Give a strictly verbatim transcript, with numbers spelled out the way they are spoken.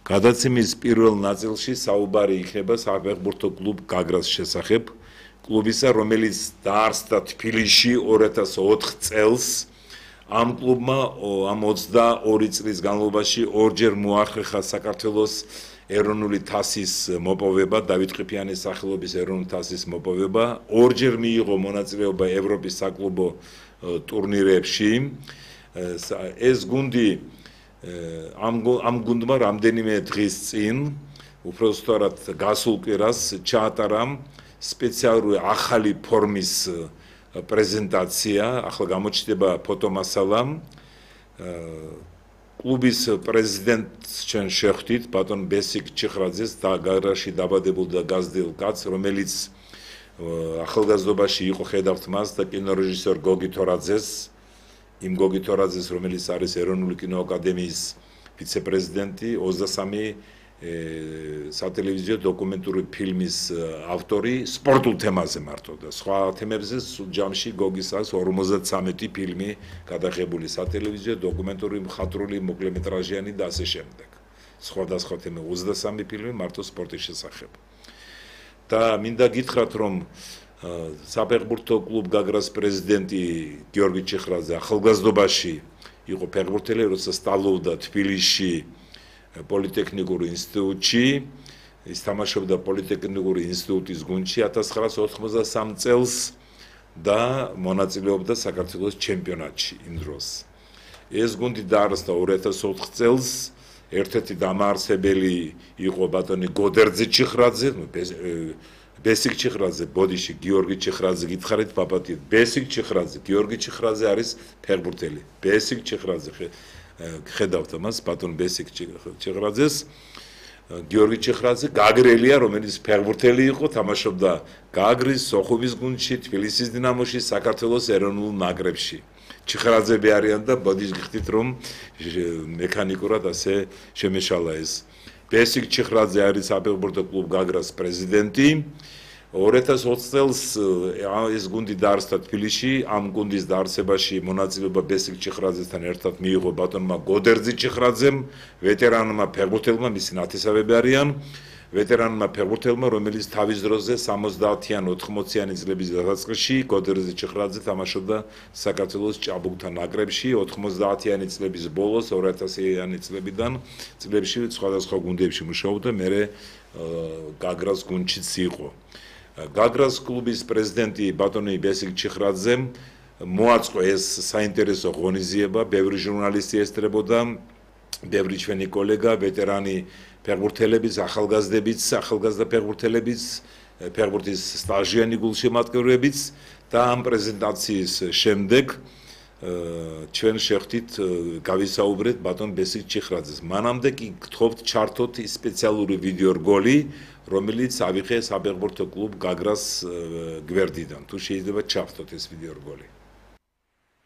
გადაცემის პირველ ნაწილში საუბარი იქნება საფეხბურთო კლუბ გაგრას შესახებ, კლუბისა, რომელიც დაარსდა თბილისში ორი ათას ოთხ წელს. ამ კლუბმა ამ ოცდაორი წლის განმავლობაში ორჯერ მოახერხა საქართველოს ეროვნული თასის მოპოვება, დავით ყიფიანის სახელობის ეროვნული თასის მოპოვება, ორჯერ მიიღო მონაწილეობა ევროპის საკლუბო ტურნირებში. ეს გუნდი ამ ამ გუნდმა რამდენიმე დღის წინ უბრალოდ გასულ კვირას ჩაატარა სპეციალური ახალი ფორმის პრეზენტაცია, ახლა გამოჩნდება ფოტომასალა. კლუბის პრეზიდენტს ჩვენ შევხვდით ბატონ ბესიკ ჩიხრაძეს და გაგრაში დაბადებულ და გაზრდილ კაცს, რომელიც ახალგაზრდობაში იყო ხედავთ მას და კინორეჟისორ გოგი თორაძეს, იმ გოგი თორაძეს, რომელიც არის ეროვნული კინოაკადემიის ვიცე-პრეზიდენტი, ოცდასამი სატელევიზიო დოკუმენტური ფილმის ავტორი სპორტულ თემაზე მარტო და სხვა თემებზე ჯამში გოგის აქვს ორმოცდათვრამეტი ფილმი გადაღებული სატელევიზიო დოკუმენტური მხატვრული მოკლემეტრაჟიანი და ასე შემდეგ. სხვადასხვა თემები ოცდასამი ფილმი მარტო სპორტის შესახებ. და მინდა გითხრათ, რომ საფეხბურთო კლუბ გაგრას პრეზიდენტი გიორგი ჩიხრაძე ახალგაზრდობაში იყო ფეხბურთელი, როცა სწავლობდა თბილისში პოლიტექნიკურ ინსტიტუტში, ის თამაშობდა პოლიტექნიკური ინსტიტუტის გუნდში ათას ცხრაას ოთხმოცდასამ წელს და მონაწილეობდა საქართველოს ჩემპიონატში იმ დროს. ეს გუნდი დაარსდა ორი ათას ოთხ წელს, ერთ-ერთი დამაარსებელი იყო ბატონი გოდერძი ჩიხრაძე, ბესიკ ჩიხრაძე, ბოდიში გიორგი ჩიხრაძე გითხარით პაპატიეთ, ბესიკ ჩიხრაძე, გიორგი ჩიხრაძე არის ფეხბურთელი. ბესიკ ჩიხრაძე ხედავთ მას ბატონ ბესიკ ჩიხრაძეს, გიორგი ჩიხრაძე გაგრელია, რომელიც ფეხბურთელი იყო, თამაშობდა გაგრის, სოხუმის გუნდში, თბილისის დინამოში, საქართველოს ეროვნულ ნაკრებში. ჩიხრაძები არიან და ბოდიშს გიხდით, რომ მექანიკურად ასე შემეშალა ეს. ბესიკ ჩიხრაძე არის საფეხბურთო კლუბ გაგრას პრეზიდენტი. ორი ათას ოცი წელს ეს გუნდი დაარსდა თბილისში, ამ გუნდის დაარსებაში მონაწილეობა ბესიკ ჩიხრაძესთან ერთად მიიღო ბატონმა გოდერძი ჩიხრაძემ, ვეტერანმა ფეხბურთელმა, მისი ნათესავები არიან, ვეტერანმა ფეხბურთელმა, რომელიც თავის დროზე სამოცდაათიან ოთხმოციანი წლების დასაწყისში გოდერძი ჩიხრაძე თამაშობდა საქართველოს ჭაბუკთა ნაკრებში, ოთხმოცდაათიანი წლების ბოლოს, ორი ათასიანი წლებიდან წლებში სხვადასხვა გუნდებში მუშაობდა, მერე გაგრას გუნდშიც იყო. გაგრას კლუბის პრეზიდენტი ბატონი ბესიკ ჩიხრაძემ მოაწყო ეს საინტერესო ღონისძიება, ბევრი ჟურნალისტი ესწრებოდა, ბევრი ჩვენი კოლეგა, ვეტერანი ფეხბურთელებიც, ახალგაზრდებიც, ახალგაზრდა ფეხბურთელებიც, ფეხბურთის სტაჟიანი გულშემატკივრებიც და ამ პრეზენტაციის შემდეგ ჩვენ შევხვდით გავისაუბრეთ ბატონ ბესიკ ჩიხრაძეს. მანამდე კი გთხოვთ ჩართოთ ის სპეციალური ვიდეო რგოლი, რომელიც ავიღე საფეხბურთო კლუბ გაგრას გვერდიდან. თუ შეიძლება ჩავთოთ ეს ვიდეო რგოლი.